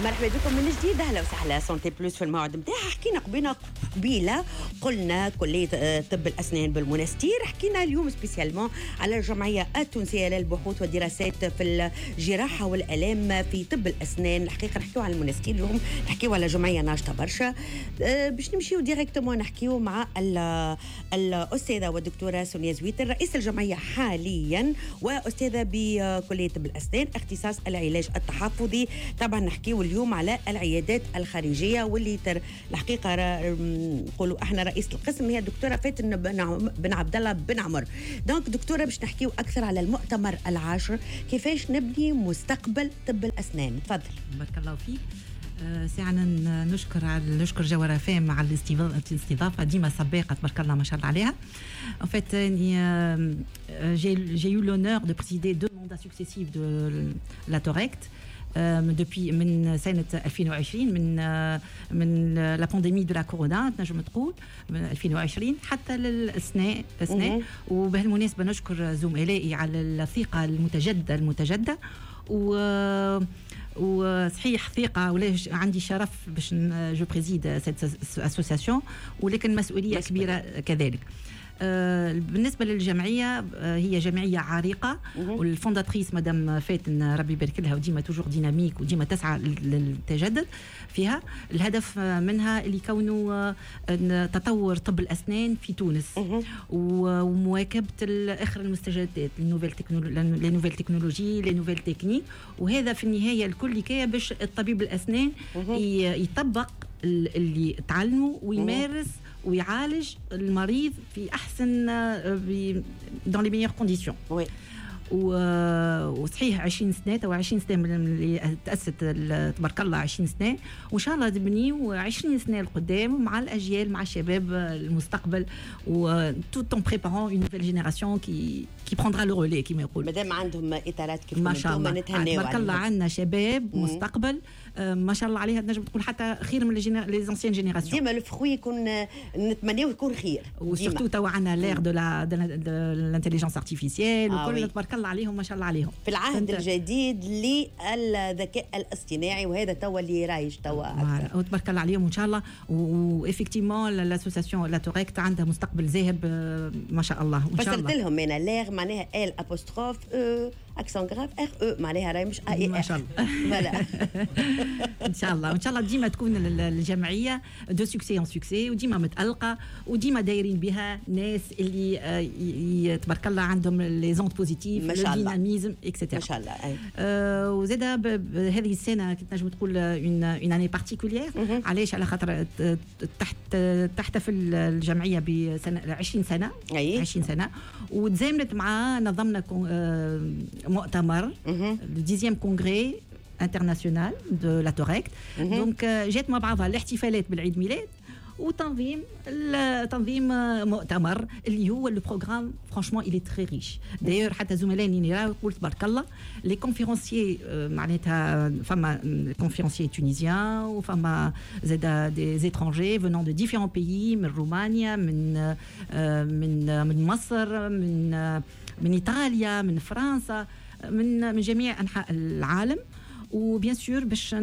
مرحبا بكم من جديد، اهلا وسهلا. Santé Plus في الموعد نتاعها. حكينا قبيله قلنا كليه طب الاسنان بالمنستير. حكينا اليوم spécialement على الجمعية التونسية للبحوث والدراسات في الجراحة والالام في طب الاسنان. الحقيقة نحكيو على المنستير اليوم، نحكيو على جمعية ناشطة برشا. باش نمشيو directement نحكيو مع الاستاذة والدكتورة سونيا زويتر، رئيس الجمعية حاليا واستاذه بكلية طب الاسنان اختصاص العلاج التحفظي. طبعا نحكيو اليوم على العيادات الخارجية واللي الحقيقة نقولوا احنا رئيسه القسم هي الدكتورة فاتن بن عبد الله بن عمر. donc دكتوره، باش نحكيو اكثر على المؤتمر العاشر، كيفاش نبني مستقبل طب الاسنان. تفضل. بارك الله فيك. ساعة نشكر جوهرة فام على الاستضافة، ديما سباقة تبارك الله ما شاء الله عليها. En fait, j'ai eu l'honneur de présider deux mandats successifs de la TORECT depuis من سنة 2020، من la pandémie de la corona تنجم تقول، من 2020 حتى للسنة السنة. وبهالمناسبة نشكر زملائي على الثقة المتجددة وصحيح ثقة ولا عندي شرف باش je préside cette association، ولكن مسؤولية كبيرة كذلك. بالنسبة للجمعية هي جمعية عريقة، وال fondatrice مدام فاتن ربي يبارك لها، وديما toujours dynamique وديما تسعى للتجدد فيها. الهدف منها اللي كونه تطور طب الاسنان في تونس ومواكبه اخر المستجدات، les nouvelles technologies، les nouvelles techniques، وهذا في النهاية الكل كي باش الطبيب الاسنان يطبق اللي تعلمه ويمارس ويعالج المريض في احسن dans les meilleures conditions. وصحيح 20 سنه، تو 20 سنة من اللي تاسست، تبارك الله 20 سنه، وان شاء الله تبنيو 20 سنة القدام مع الاجيال، مع الشباب المستقبل، و tout en préparant une nouvelle génération qui prendra le relais كما يقول. مادام عندهم اطارات كيف ما شاء الله. نتهناو. تبارك الله عندنا شباب مستقبل ما شاء الله عليها، تنجم تقول حتى خير من les anciennes générations. ديما le fruit يكون نتمناو يكون خير. و surtout توا عندنا l'ère de l'intelligence artificielle وكل، تبارك الله عليهم ما شاء الله عليهم. في العهد الجديد للذكاء الاصطناعي، وهذا توا اللي رايج توا اكثر. وتبارك الله عليهم وان شاء الله و effectivement l'association la TORECT عندها مستقبل زاهر ما شاء الله. وان شاء الله فسرت لهم انا l'ère معناها L apostrophe E accent grave R E، معناها راهي مش A I. ما شاء الله. voilà. ان شاء الله، وان شاء الله ديما تكون الجمعية de succès en succès وديما متالقه وديما دايرين بها ناس اللي تبارك الله عندهم les ondes positives، ما شاء الله، dynamisme et cetera. ما شاء الله. وزاد هذه السنة كنت نجم تقول une année particulière. علاش؟ على خاطر تحت تحتفل الجمعية بسنة 20 سنه. 20 سنة وتزامنت مع نظمنا مؤتمر le 10e congrès international de la TORECT. donc جات مع بعضها الاحتفالات بالعيد ميلاد وتنظيم تنظيم مؤتمر اللي هو le programme franchement il est très riche. d'ailleurs حتى زملائي يقول تبارك الله les conférenciers، معناتها فما conférenciers tunisiens وفما زاد des étrangers venant de différents pays، من رومانيا، من مصر، من ايطاليا، من فرنسا، من جميع انحاء العالم. و bien sûr باش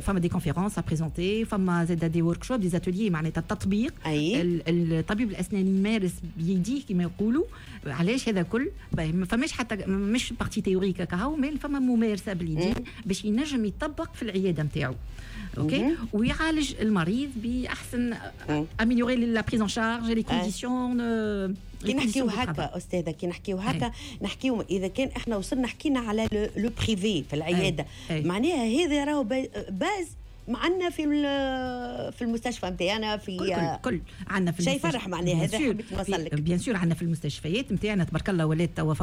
فما des conférences à présenter، فما زاد des workshops، des ateliers، معناتها التطبيق. الطبيب الاسنان يمارس بيديه كما يقولوا. علاش هذا كل؟ ما فماش حتى مش partie théorique كهو، mais فما ممارسة باليدين باش ينجم يطبق في العيادة نتاعو، OK، ويعالج المريض باحسن، améliorer la prise en charge، les conditions. كي نحكيو هكا استاذه، كي نحكيو هكا نحكيو اذا كان احنا وصلنا حكينا على le privé في العياده، معناها هذا راهو base معنا في المستشفى نتاعنا في كل كل, كل عندنا في شيء فرح، معناها هذا حبيت نوصل لك. bien sûr عندنا في المستشفيات نتاعنا تبارك الله ولات توا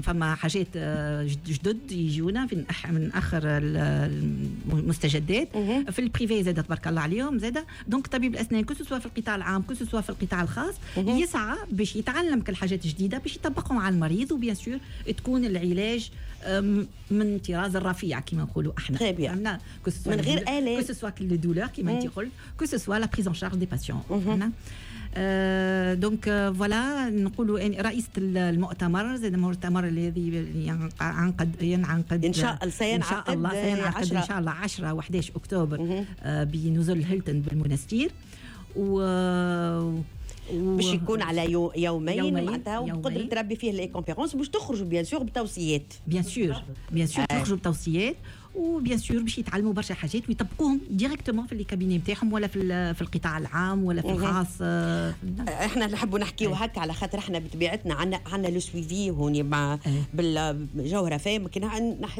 فما حاجات جدد يجونا في من اخر المستجدات. في ال privé زاد تبارك الله عليهم زاد. donc طبيب الاسنان que ce soit في القطاع العام que ce soit في القطاع الخاص يسعى باش يتعلم كل حاجات جديدة باش يطبقهم على المريض، و bien sûr تكون العلاج من طراز الرفيع كما نقولوا احنا. من غير آلات. que ce soit les douleurs كما انت قلت، que ce soit la prise en charge des patients. donc voilà، نقولوا رئيسة المؤتمر، زاد المؤتمر الذي ينعقد ان شاء الله سينعقد. ان شاء الله سينعقد ان شاء الله 10 و11 اكتوبر بنزل هيلتون بالمنستير و باش يكون على يومين معناتها، وبقدرة ربي فيه les conférences باش تخرجوا bien sûr بتوصيات. bien sûr، bien sûr، تخرجوا بتوصيات و bien sûr باش يتعلموا برشا حاجات ويطبقوهم directement في les cabinets نتاعهم ولا في القطاع العام ولا في الخاص. احنا نحبوا نحكيو هكا على خاطر احنا بطبيعتنا عندنا le suivi هوني مع بالجوهره فاهم. كي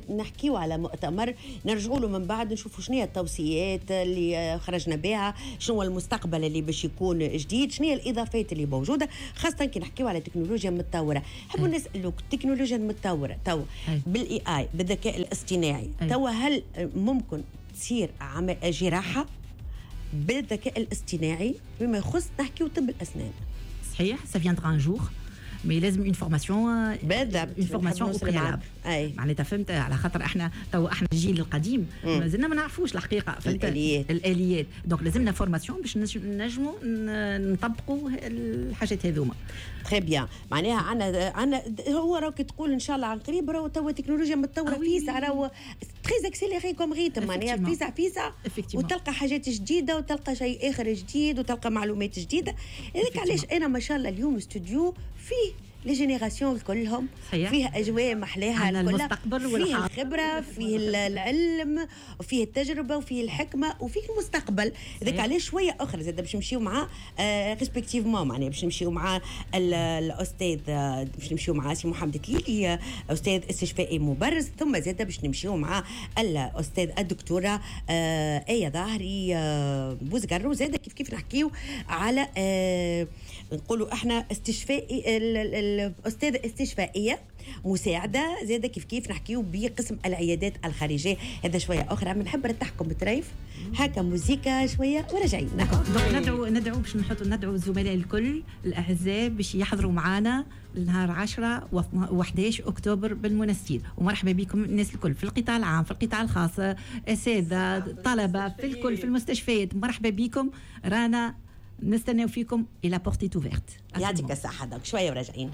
نحكيو على مؤتمر نرجعوا له من بعد، نشوفوا شنو هي التوصيات اللي خرجنا بها، شنو المستقبل اللي باش يكون جديد، شنو هي الاضافات اللي موجوده، خاصة كي نحكيو على تكنولوجيا متطوره. نحبوا نسالوك، التكنولوجيا المتطورة تو بال AI، بالذكاء الاصطناعي، تو هل ممكن تصير جراحه بالذكاء الاصطناعي بما يخص نحكيو طب الاسنان؟ صحيح، ça viendra un jour، mais لازم une formation. بالضبط. une formation au préalable معناتها، فهمت؟ على خاطر احنا تو احنا الجيل القديم مازلنا ما نعرفوش الحقيقه، فهمت؟ الاليات. الاليات، donc لازمنا formation باش نجموا نطبقوا الحاجات هذوما. très bien، معناها عندنا هو راك تقول ان شاء الله عن قريب، راهو توا التكنولوجيا متطورة فيسع، راهو très accéléré comme rythme، معناها فيسع فيسع وتلقى حاجات جديدة وتلقى شيء اخر جديد وتلقى معلومات جديده. هذاك علاش انا ما شاء الله اليوم استوديو فيه les générations كلهم. فيه اجواء محلاها. المستقبل. فيه الخبره، فيه العلم، وفيه التجربه، وفيه الحكمه، وفيه المستقبل. هذاك علاش شوية اخرى زاد باش نمشيو مع respectivement، معناها باش نمشيو مع الاستاذ، باش نمشيو مع سي محمد تليلي، استاذ استشفائي مبرز، ثم زاد باش نمشيو مع الاستاذ الدكتورة ايه ظاهري بوزقر، وزاد كيف كيف نحكيو على نقولوا احنا استشفائي، الاستاذة استشفائيه مساعده، زاده كيف كيف نحكيو بقسم العيادات الخارجيه. هذا شوية اخرى، بنحب نرتاحكم بطريف هكا موزيكا شوية وراجعين. ندعو باش نحط ندعو الزملاء الكل الاعزاء باش يحضروا معنا النهار 10 و11 اكتوبر بالمنستير، ومرحبا بكم الناس الكل في القطاع العام، في القطاع الخاص، اساتذه، طلبه، في الكل، في المستشفيات، مرحبا بكم، رانا نستناو فيكم et la porte est ouverte. يعطيك الصحه، donc شوية وراجعين.